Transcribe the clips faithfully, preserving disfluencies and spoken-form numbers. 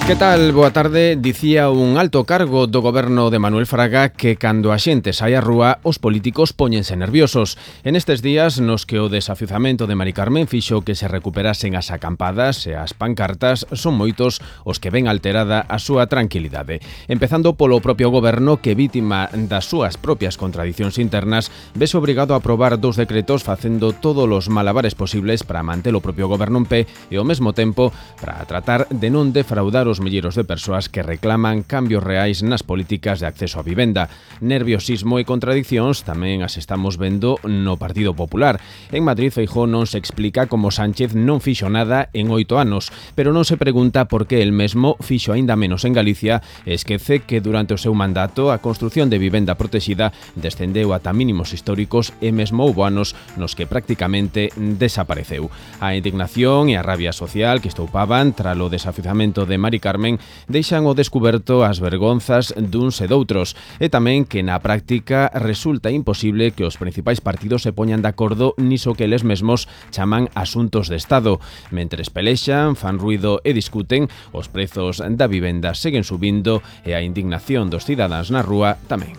Que tal? Boa tarde. Dicía un alto cargo do goberno de Manuel Fraga que cando a xente sai á rúa os políticos póñense nerviosos. En estes días nos que o desafiuzamento de Mari Carmen fixo que se recuperasen as acampadas e as pancartas, son moitos os que ven alterada a súa tranquilidade. Empezando polo propio goberno que, vítima das súas propias contradicións internas, vese obrigado a aprobar dous decretos facendo todos os malabares posibles para manter o propio goberno en pé e ao mesmo tempo para tratar de non defraudar os milleiros de persoas que reclaman cambios reais nas políticas de acceso á vivenda. Nerviosismo e contradicións tamén as estamos vendo no Partido Popular. En Madrid, Feijóo non se explica como Sánchez non fixo nada en oito anos, pero non se pregunta por que el mesmo fixo aínda menos en Galicia e esquece que durante o seu mandato a construción de vivenda protexida descendeu ata mínimos históricos e mesmo houbo anos nos que prácticamente desapareceu. A indignación e a rabia social que estoupaban tras o desafiuzamento de Mari Carmen deixan ao descuberto as vergonzas duns e doutros e tamén que na práctica resulta imposible que os principais partidos se poñan de acordo niso que eles mesmos chaman asuntos de Estado. Mentres pelexan, fan ruido e discuten, os prezos da vivenda seguen subindo e a indignación dos cidadáns na rúa tamén.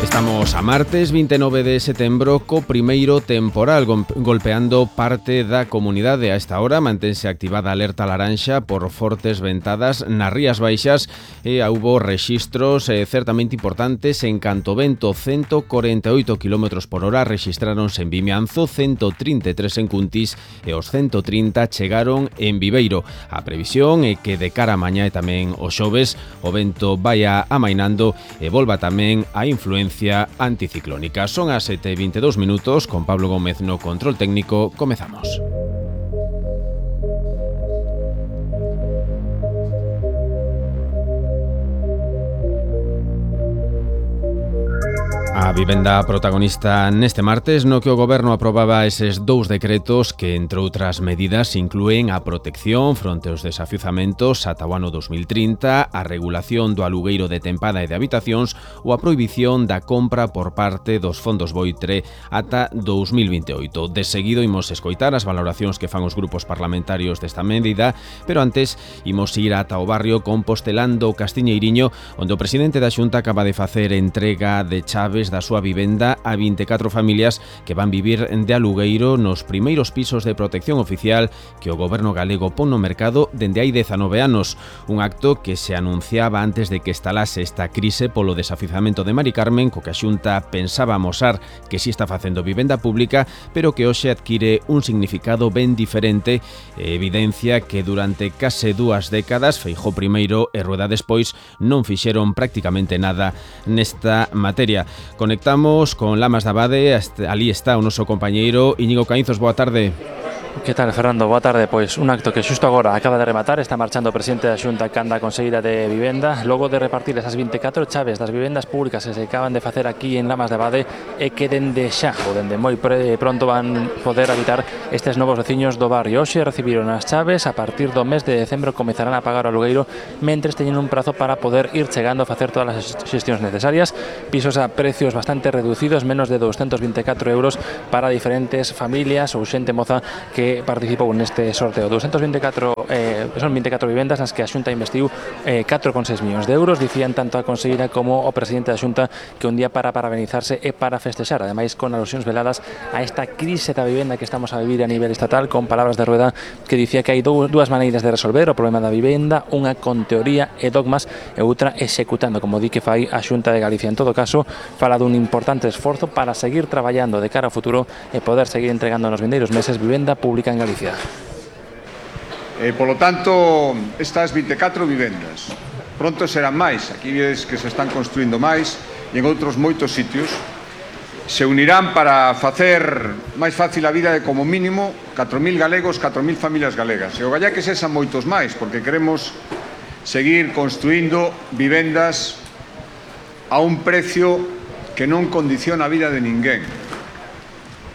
Estamos a martes vinte e nove de setembro co primeiro temporal golpeando parte da comunidade. A esta hora mantense activada a alerta laranxa por fortes ventadas nas Rías Baixas e houbo rexistros eh, certamente importantes en canto vento. Cento corenta e oito kilómetros por hora rexistráronse en Vimianzo, cento trinta e tres en Cuntis e os cento trinta chegaron en Viveiro. A previsión é que de cara a mañá e tamén o xoves o vento vaia amainando e volva tamén a influencia anticiclónica. Son as sete e vinte e dous minutos, con Pablo Gómez no control técnico. Comezamos. A vivenda protagonista neste martes no que o goberno aprobaba eses dous decretos que, entre outras medidas, inclúen a protección fronte aos desafiuzamentos ata o ano dos mil trinta, a regulación do alugueiro de tempada e de habitacións ou a prohibición da compra por parte dos fondos Boitre ata dous mil vinte e oito. De seguido imos escoitar as valoracións que fan os grupos parlamentarios desta medida, pero antes imos ir ata o barrio compostelán do Castiñeiriño, onde o presidente da Xunta acaba de facer entrega de chaves da súa vivenda a vinte e catro familias que van vivir de alugueiro nos primeiros pisos de protección oficial que o goberno galego pon no mercado dende hai dezanove anos. Un acto que se anunciaba antes de que estalase esta crise polo desafiuzamento de Mari Carmen, co que a Xunta pensaba amosar que si está facendo vivenda pública, pero que hoxe adquire un significado ben diferente e evidencia que durante case dúas décadas Feijóo primeiro e Rueda despois non fixeron prácticamente nada nesta materia. Conectamos con Lamas de Abade, ali está o noso compañeiro Íñigo Caínzos. Boa tarde. Que tal, Fernando? Boa tarde. Pois un acto que xusto agora acaba de rematar. Está marchando o presidente da Xunta canda conseguida de vivenda, logo de repartir esas vinte e catro chaves das vivendas públicas que se acaban de facer aquí en Lamas de Abade e que dende xa, ou dende moi pronto van poder habitar estes novos veciños do barrio. Hoxe recibiron as chaves, a partir do mes de decembro comezarán a pagar o alugueiro mentres teñen un prazo para poder ir chegando a facer todas as xestións necesarias. Pisos a precios bastante reducidos, menos de doscientos vinte e catro euros para diferentes familias ou xente moza que que participou neste sorteo. doscientos vinte e catro, eh, son vinte e catro vivendas nas que a Xunta investiu eh, catro coma seis millóns de euros. Dicían tanto a conselleira como o presidente da Xunta que un día para parabenizarse e para festexar, ademais con alusións veladas a esta crise da vivenda que estamos a vivir a nivel estatal, con palabras de Rueda que dicía que hai dúas maneiras de resolver o problema da vivenda, unha con teoría e dogmas e outra executando, como di que fai a Xunta de Galicia. En todo caso, fala dun importante esforzo para seguir traballando de cara ao futuro e poder seguir entregando nos vindeiros meses vivenda pública en Galicia. Eh, por lo tanto, estas vinte e catro vivendas pronto serán máis. Aquí vedes que se están construindo máis e en outros moitos sitios se unirán para facer máis fácil a vida de como mínimo catro mil galegos, catro mil familias galegas. E o galla que sexan moitos máis, porque queremos seguir construindo vivendas a un precio que non condiciona a vida de ninguén.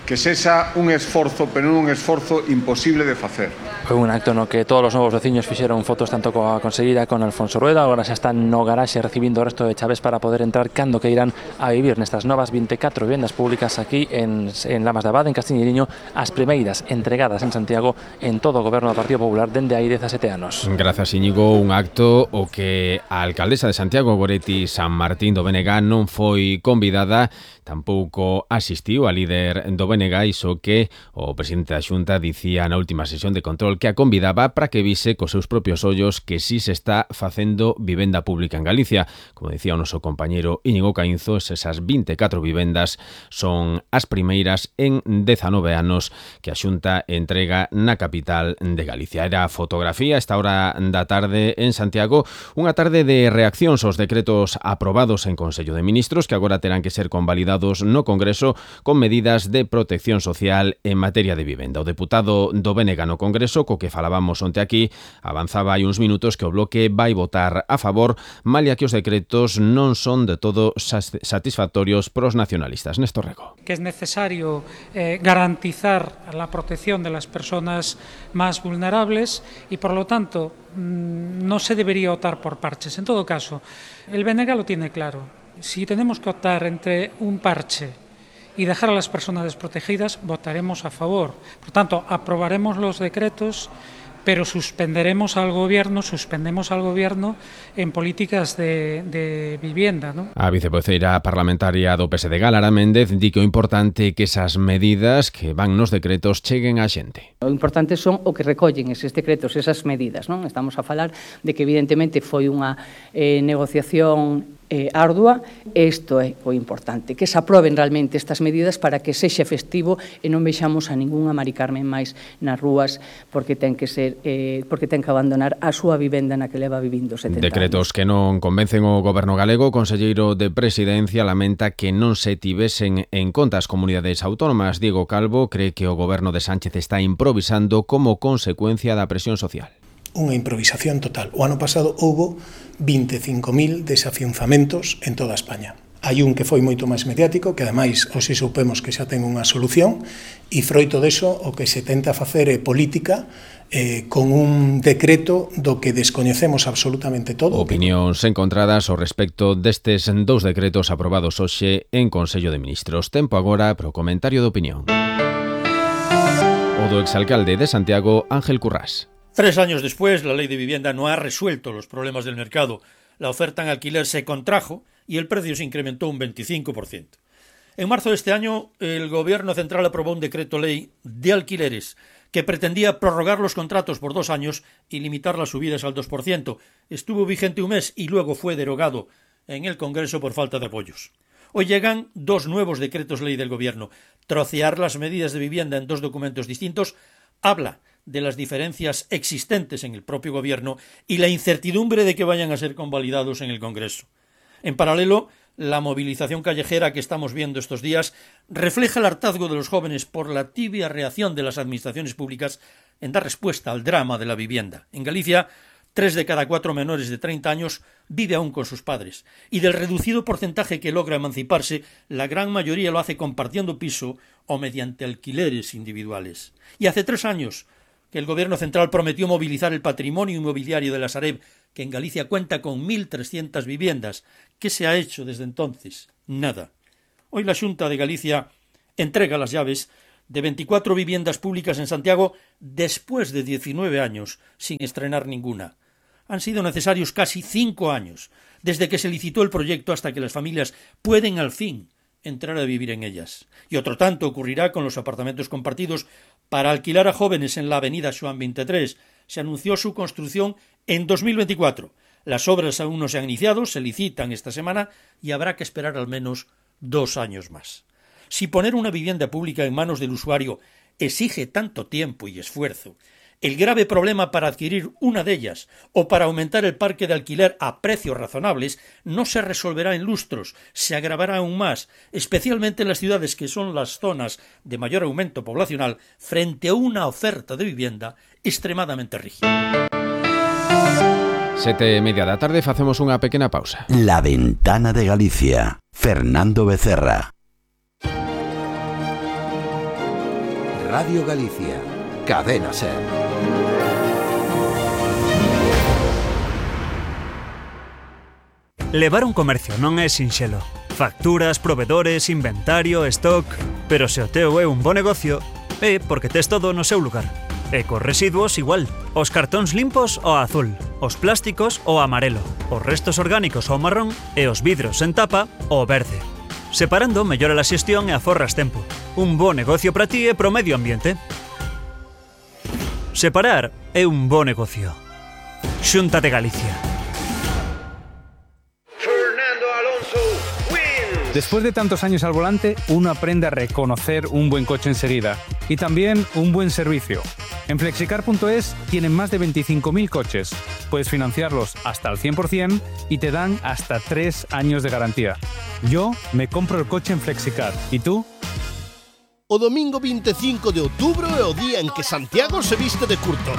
que sexa un esforzo, pero non un esforzo imposible de facer. Foi un acto no que todos os novos veciños fixeron fotos tanto coa conselleira con Alfonso Rueda, agora xa están no garaxe recibindo o resto de chaves para poder entrar cando que irán a vivir nestas novas vinte e catro vivendas públicas aquí en, en Lamas de Abade, en Castiñeiriño, as primeiras entregadas en Santiago en todo o goberno do Partido Popular dende hai dezasete anos. Grazas, Íñigo, un acto o que a alcaldesa de Santiago, Goretti San Martín do B N G, non foi convidada, tampouco asistiu a líder do B N G, iso que o presidente da Xunta dicía na última sesión de control que a convidaba para que vise cos seus propios ollos que si se está facendo vivenda pública en Galicia. Como decía o noso compañeiro Íñigo Caínzo, esas vinte e catro vivendas son as primeiras en dezanove anos que a Xunta entrega na capital de Galicia. Era a fotografía esta hora da tarde en Santiago, unha tarde de reaccións aos decretos aprobados en Consello de Ministros que agora terán que ser convalidados no Congreso con medidas de protección social en materia de vivenda. O deputado do B N G no Congreso, co que falábamos onte aquí, avanzaba hai uns minutos que o Bloque vai votar a favor, malia que os decretos non son de todo satisfactorios pros nacionalistas. Néstor Rego. Que es necesario eh, garantizar la protección de las personas más vulnerables y, por lo tanto, mmm, no se debería optar por parches. En todo caso, el B N G lo tiene claro. Si tenemos que optar entre un parche y dejar a las personas desprotegidas, votaremos a favor. Por tanto, aprobaremos los decretos, pero suspenderemos al gobierno, suspendemos al gobierno en políticas de, de vivienda, ¿no? A vicevoceira parlamentaria do P S D G, Lara Méndez, di que o importante é que esas medidas que van nos decretos cheguen á xente. O importante son o que recollen eses decretos, esas medidas, non? Estamos a falar de que evidentemente foi unha eh, negociación eh, ardua, isto é o importante, que se aproben realmente estas medidas para que sexa festivo e non vexamos a ningunha Mari Carmen máis nas rúas porque ten que ser eh, porque ten que abandonar a súa vivenda na que leva vivindo setenta Decretos anos. que non convencen o goberno galego. O conselleiro de Presidencia lamenta que non se tivesen en conta as comunidades autónomas. Diego Calvo cree que o goberno de Sánchez está improvisando como consecuencia da presión social. Unha improvisación total. O ano pasado houbo vinte e cinco mil desafianzamentos en toda España. Hai un que foi moito máis mediático, que ademais hoxe soupemos que xa ten unha solución, e froito deso o que se tenta facer é política eh, con un decreto do que descoñecemos absolutamente todo. Opinións encontradas ao respecto destes dous decretos aprobados hoxe en Consello de Ministros. Tempo agora para o comentario de opinión. O do exalcalde de Santiago, Ángel Currás. Tres años después, la ley de vivienda no ha resuelto los problemas del mercado. La oferta en alquiler se contrajo y el precio se incrementó un veinticinco por ciento. En marzo de este año, el Gobierno Central aprobó un decreto ley de alquileres que pretendía prorrogar los contratos por dos años y limitar las subidas al dos por ciento. Estuvo vigente un mes y luego fue derogado en el Congreso por falta de apoyos. Hoy llegan dos nuevos decretos ley del Gobierno. Trocear las medidas de vivienda en dos documentos distintos habla de las diferencias existentes en el propio Gobierno y la incertidumbre de que vayan a ser convalidados en el Congreso. En paralelo, la movilización callejera que estamos viendo estos días refleja el hartazgo de los jóvenes por la tibia reacción de las administraciones públicas en dar respuesta al drama de la vivienda. En Galicia, tres de cada cuatro menores de treinta años vive aún con sus padres, y del reducido porcentaje que logra emanciparse, la gran mayoría lo hace compartiendo piso o mediante alquileres individuales. Y hace tres años que el Gobierno Central prometió movilizar el patrimonio inmobiliario de la Sareb, que en Galicia cuenta con mil trescientas viviendas. ¿Qué se ha hecho desde entonces? Nada. Hoy la Xunta de Galicia entrega las llaves de veinticuatro viviendas públicas en Santiago después de diecinueve años, sin estrenar ninguna. Han sido necesarios casi cinco años, desde que se licitó el proyecto hasta que las familias pueden al fin entrar a vivir en ellas. Y otro tanto ocurrirá con los apartamentos compartidos para alquilar a jóvenes en la avenida Xoán veintitrés. Se anunció su construcción en dos mil veinticuatro. Las obras aún no se han iniciado, se licitan esta semana y habrá que esperar al menos dos años más. Si poner una vivienda pública en manos del usuario exige tanto tiempo y esfuerzo, el grave problema para adquirir una de ellas o para aumentar el parque de alquiler a precios razonables no se resolverá en lustros, se agravará aún más, especialmente en las ciudades que son las zonas de mayor aumento poblacional frente a una oferta de vivienda extremadamente rígida. Sete e media da tarde, facemos unha pequena pausa. La Ventana de Galicia. Fernando Becerra. Radio Galicia, Cadena SER. Levar un comercio non é sinxelo. Facturas, provedores, inventario, stock... Pero se o teu é un bo negocio, é porque tes todo no seu lugar. E cos residuos igual. Os cartóns limpos ao azul, os plásticos ao amarelo, os restos orgánicos ao marrón e os vidros en tapa ao verde. Separando mellora a xestión e aforras tempo. Un bo negocio para ti e pro medio ambiente. Separar é un bo negocio. Xunta de Galicia. Después de tantos años al volante, uno aprende a reconocer un buen coche enseguida y también un buen servicio. En flexicar punto es tienen más de veinticinco mil coches. Puedes financiarlos hasta al cien por cien y te dan hasta tres años de garantía. Yo me compro el coche en Flexicar. ¿Y tú? O domingo veinticinco de outubro é o día en que Santiago se viste de curto.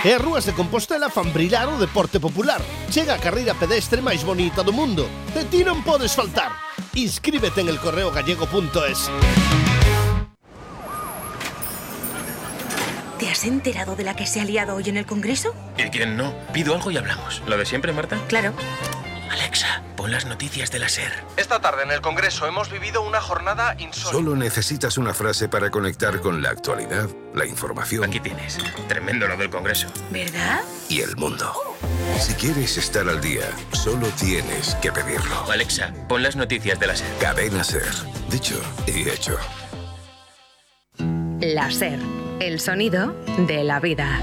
E as rúas de Compostela fan brillar o deporte popular. Chega a carreira pedestre máis bonita do mundo. De ti non podes faltar. Inscríbete en el correo gallego punto es. ¿Te has enterado de la que se ha liado hoy en el Congreso? ¿Y quién no? Pido algo y hablamos. ¿Lo de siempre, Marta? Claro. Alexa, pon las noticias de la SER. Esta tarde en el Congreso hemos vivido una jornada insólita. Solo necesitas una frase para conectar con la actualidad, la información. Aquí tienes. Tremendo lo del Congreso. ¿Verdad? Y el mundo. Si quieres estar al día, solo tienes que pedirlo. Alexa, pon las noticias de la SER. Cadena SER. Dicho y hecho. La SER, el sonido de la vida.